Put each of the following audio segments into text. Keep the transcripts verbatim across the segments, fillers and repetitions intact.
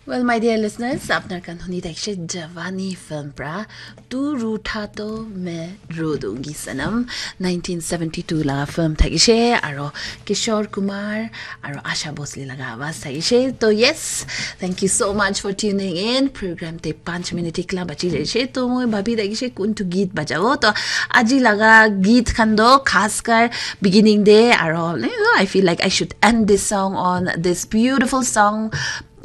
Well, my dear listeners, apnar khan huni thakishe Jawani film pra Tu Rootha To Main Ro Dungi Sanam, nineteen seventy-two laga film thakishe, aro Kishore Kumar aro Asha Bhosle laga awaz thakishe. To yes, thank you so much for tuning in. Program te panch minute ikla bachi jaishe. To moi bhabi thakishe kuntu geet bajabo. To aji laga geet khan do khas kar beginning de aro, you know, I feel like I should end this song on this beautiful song,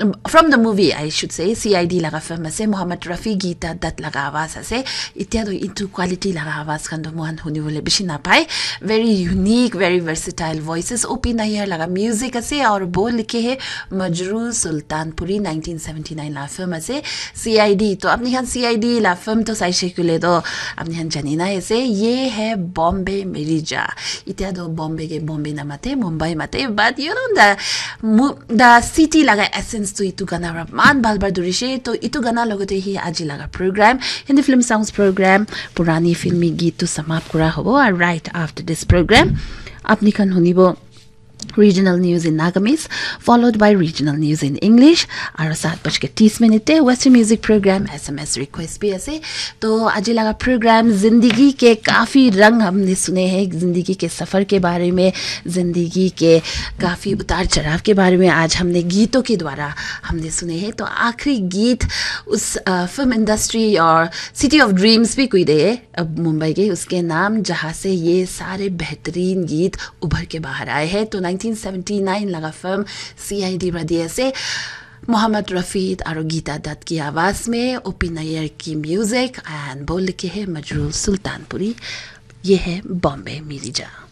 um, from the movie, I should say, C I D laga film ase, Mohammad Rafi, Geeta Dutt laga awaz ase. Itya to itu quality laga awaz khan to mohan huni bole bishi napai. Very unique, very versatile voices. O P Nayyar laga music ase, aur bo likhe hai Majrooh Sultanpuri, nineteen seventy-nine laga film ase, C I D. To apni khan C I D laga film to saishe kule to apni khan jani na ase, ye hai Bombay Meri Jaan. Itya to Bombay ke Bombay na mate, Mumbai mate, but you know, the mu- the city laga essence to itu gana pra man bal bal durishe. To itu gana logote hi aji laga program, Hindi film songs program, purani filmi geet to samap kura hobo. And right after this program, apni khan hunibo regional news in Nagamese, followed by regional news in English. Aro saat baj ke tis minute te Western music program S M S request bhi ase. To aji laga program zindagi ke kafi rang humne sune hain, zindagi ke safar ke baare mein, zindagi ke kafi utar chadhav ke baare mein aaj humne geeton ke dwara humne sune hain. To aakhri geet us, uh, film industry aur city of dreams bhi koi de, uh, Mumbai ke, uske naam jahan se ye sare behtareen geet ubhar ke bahar aaye hain. To nineteen seventy-nine laga film C I D pra diye ase, Mohammad Rafi aur Geeta Dutt ki awaaz mein, O P Nayyar ki music, and bo likhe hai Majrooh Sultanpuri. Ye hai Bombay Meri Jaan.